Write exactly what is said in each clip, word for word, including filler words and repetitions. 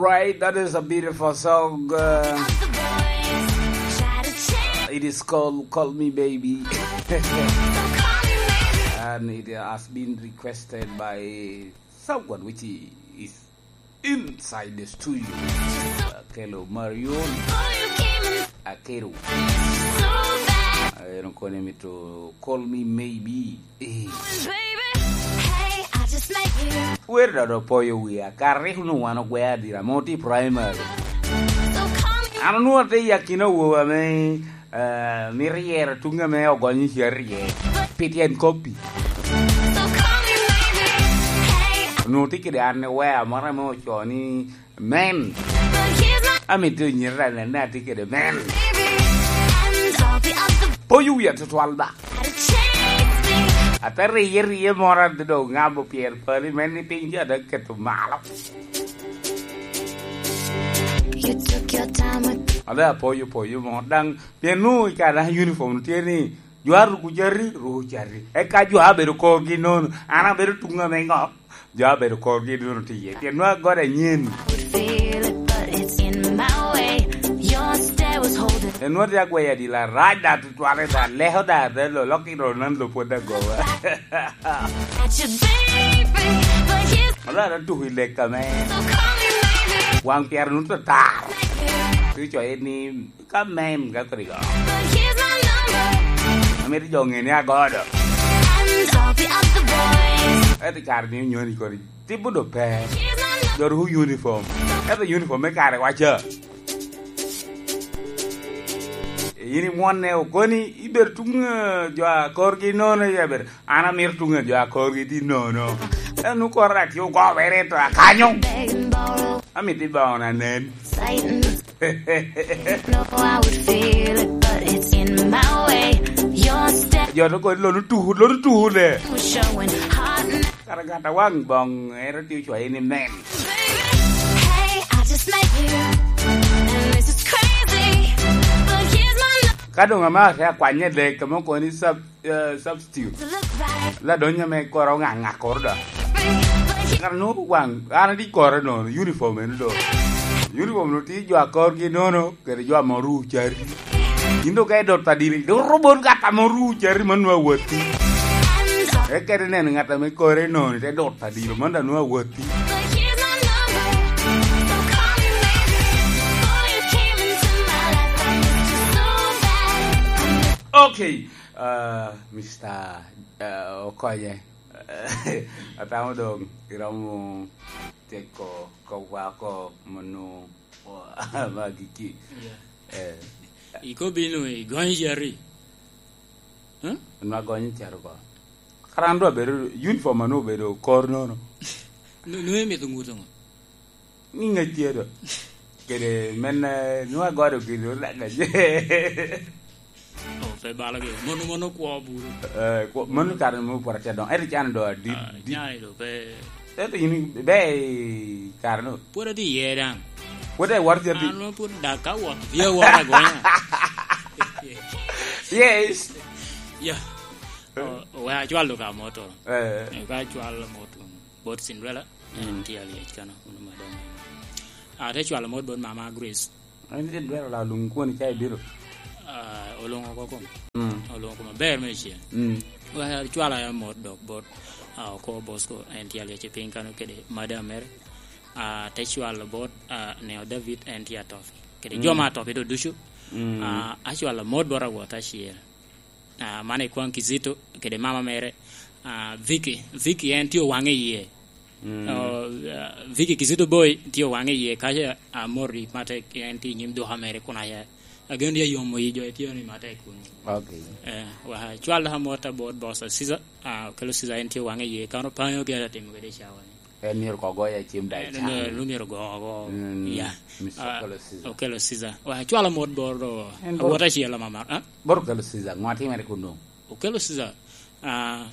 Right, that is a beautiful song. Uh, it is called Call Me Baby. And it has been requested by someone which is inside the studio. Akelo Marion. Akelo. En okone mito Call Me Maybe. Eh. Wer dok opoyo wia, kara rik onwoŋo wan ogwea adira, ame otye i primary. An onwoŋo atye i akina awobe ame, eh, mito yero tuŋ ame ogonyo i carrie pi tyen koppi. Onwoŋo tye kede underwear moro ame ocoo ni men. Amito nyira nene atye kede men. Poyo wia tutwal ba. Ate riye riye moro ate dok ŋabo pyer pali men ni piny jo ate keto malo. Ada apoyo poyo mo daŋ pien nu i kare uniform tye ni jo a ruko cati, ruko cati. Eka jo a bedo korgi nono, an abedo tuŋ ame ŋo? Jo a bedo korgi nono tye iye. Pien nwa gode anyen. Enwa tye agweyo adila rac da tutwale da, leko da, da lo, lok i ro nan lo pwod agoba. Olara tuko i lek ame. Waŋ pyero nuto tar. Tuco ni ka men ka kodi go. Amito jo ŋe ni agodo. Ento kare ni onyoni kodi. Tipo do pe. Jo ruko uniform. Ento uniform me kare waca. Yin imwonne okoni ibedo tuŋ, eh, jo a korgi nono iye bedo. An amito tuŋ jo a korgi tye nono. En nu koro rak tye ogobere to akanyo. Amito i boŋo na nen. Jo to kodi lon otuku, lon otuku le. Kara gata waŋ boŋ ero tye ocwaye ni men. Ka doŋ amaro te akwanye lek, kama okoni sub-, eh, substitute. Ladonyo me koro oŋaŋa koro da. Kara nu waŋ, an adi kore nono, uniform eno do. Uniform no tye jo a korgi nono, kede jo ame oru cari. Yin do ka idot adiri, do robot gat ame oru cari man nwa watti. Ekede neno gat ame kore nono, te dot adiri, man da nwa watti. Okay, uh, Mister, uh, Okonye. Atamo doŋ iromo tyeko kop wa oko mano magi ki. Yeah. Eh. Ikobi nu igonyo cati. Huh? Nwa gonyo cati oko. Kara an dwa bedo, uniform anu obedo kor nono. Nu-, nu imito ŋuto ŋo? Ni ŋec tye do. Kede men, eh, nwa godo gin olaga je. Oh, pe balogi. Mono, mono kwo buru. Eh, kwo, mono kare mo pwod atye doŋ. Ento can do adi, ah, di- can do pe. Ento yin ibe i kare no. Pwod atye iye daŋ. Pwod iwot cati. An pwod dak ka wot. Ye wot agonya. Yes. Yeah. Oh, we acwal do ka moto. Eh. Eh, ka acwal moto. Bot Cinderella, mm, en tye alyec kano, unu madam. Ah, te cwalo mot bot mama Grace. En tye dwero la luŋ kwoni ca ibiro? Ah, oluŋo oko kom. Mm. Oluŋo kom aber me cen. Mm. Wa, cwalo ya mot dok bot, ah, oko Bosco, en tye alyec i piny kano kede madam mere. Ah, te cwalo bot, ah, Neo David, en tye atopi. Kede, mm, jo ma atopi do ducu. Mm. Ah, acwalo mot bot awot acel. Ah, man ikwaŋ Kizito kede mama mere, ah, Vicky. Vicky en tye owaŋe iye. Mm. Oh, ah, Vicky Kizito Boy tye owaŋe iye, kaca, ah, Mori Matek en tye i nyim duka mere kun aya. Ageno ni ayomo yi jo itye ni matek kun. Okay. Eh, wa, cwal ha mot abot boss Caesar, ah, Okelo Caesar en tye owaŋe iye, kano panyo gin atimo kede i cawa ni. En myero ko goyo acim da i can. En myero, myero go, go. Mm, ya. Mister, ah, Okelo Caesar. Okelo Caesar. Wa, cwalo mot boro. En boro. Awot acel amamar, ah? Boro Okelo Caesar, ŋo atimere kuno? Okelo Caesar, ah,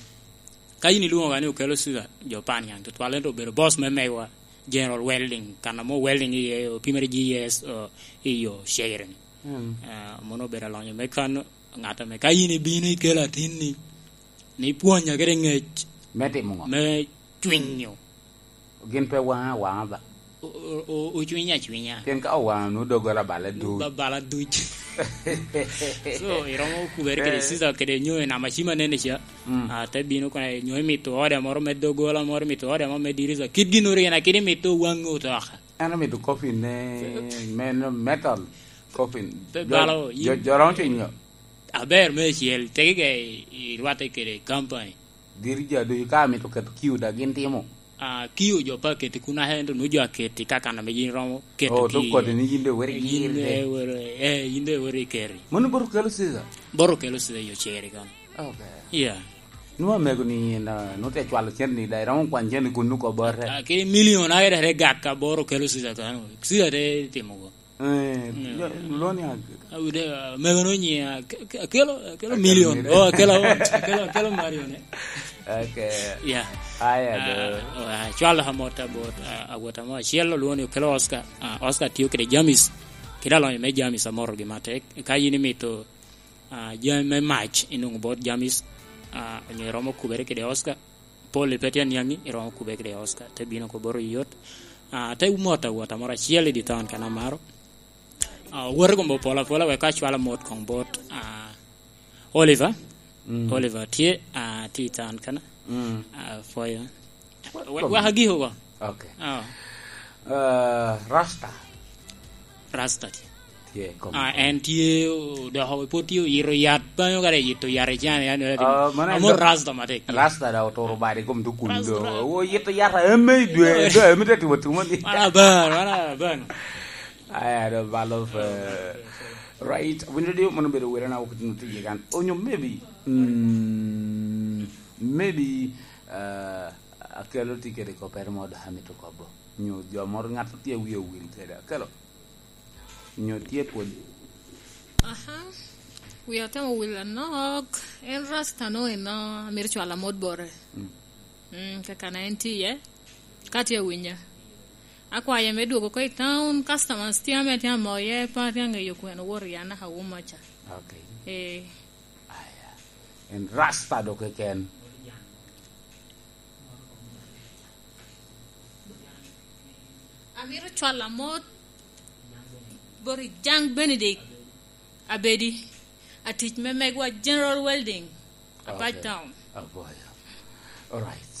ka yin ilwoŋo ga ni Okelo Caesar, jo pan nyaŋ tutwal, ento obedo boss me megwa, General Welding, kan amo welding iye, opimere G S, oh, i yo sharing. Mm. Ah, mono obedo alonyo me kan, ŋat ame ka yin ibino ikelo atinni, ni pwonya kede ŋec. Me timo ŋo? Me cwinyo. Gin pe waŋa awaŋa ba. O-, o-, ocwiny acwinya. Pien ka owaŋo nu doggola bala duc. Ba-, bala duc. So, iromo kubere kede Caesar kede nyo i nama cima nene ca. Mm. Ah, te bino kono nyo imito ode moro me doggola moro, imito ode moro me dirisa. Kit gin ori en akidi imito waŋ otoka. En omito coffin ne, men metal coffin. Pe Jo-, balo, jo, yin jo romo cwiny. Aber me acel, tegi ga i, i rwatte kede company. Diri jo ducu ka amito keto kiu da gin timo. Ah, kiu jo pa keti kun aka ento nu jo aketi ka kan ame yin romo keto Oh, ki tuk kodi ni yin de weri yin gir de de. Weri, eh, yin de weri keri. Mano boro kelo Caesar? Boro kelo Caesar yo ceri kan. Okay. Yeah. Nwa mego ni na, nu te cwalo cen ni da, romo kwan cen ni kun nu ko boro. Ah, ke million ayede re gak ka boro kelo Caesar kan. Caesar te timo go. Eh, mm. Lo-, lwoni ag- Awude, ah, mego no nyi, ah, ke-, ke-, akelo, akelo Akelo million. Million. Oh, akelo, akelo, akelo Mario ne. Okay. Yeah. Aya, Ah, do. Ah, cwalo ha mot abot, ah, awota mo acel olwongo ni okelo Oscar. Ah, Oscar tiyo kede Jamis. Kede alonyo me Jamis amoro gi matek. Ka yin imito, ah, jami me mac inwoŋo bot Jamis, ah, onyo iromo kubere kede Oscar. Pol i pe tye aniaŋi, iromo kubere kede Oscar. Te bino ko boro yot. Ah, te mot awota moro acel i di town kan amaro. Ah, owote gombo pol apola wek ka acwalo mot koŋ bot, ah, Oliver. Mm. Oliver tye, ah, tye i town kana. Mm. Ah, pwoyo. Wa-, wek agiko go. Okay. Ah. Ah, Rasta. Rasta tye. Tye, kom-, Ah, en tye, o-, dok pwod tye oyito yat, banyo kare yito yat i can, yan, yan, Ah, mano en amor do-, Rasta matek. Rasta da oturo bade kom to kun Rasta, do. Rasta. Oyito yat, eme i dwe, do, eme te timo timo ni. Mana ban, mana ban. Aya, do balo fe. Right, winyo dio mono bedo wele na okutino tye kan. Onyo maybe, mm, maybe, uh, akelo ticket ko pere mo da hamito kobo. Nyo jo moro ŋat tye wie owil kede. Akelo. Nyo tye pwod. Aha. Wi otemo wil anok. En Rasta no eno, amir cwala mod bore. Mm. Mm, kakana en tye iye. Ka tye awinya. Akwaye me dwogo ko i town, customers tye ame tye amoye, pa tye aŋeyo kwene wor yan aka wuma ca. Okay. Eh. Aya. En Rasta do keken. Amito cwalo amot bot i Jaŋ Benedict Abedi, atic me megwa General Welding, Apac Okay. Town. Aboya. Alright.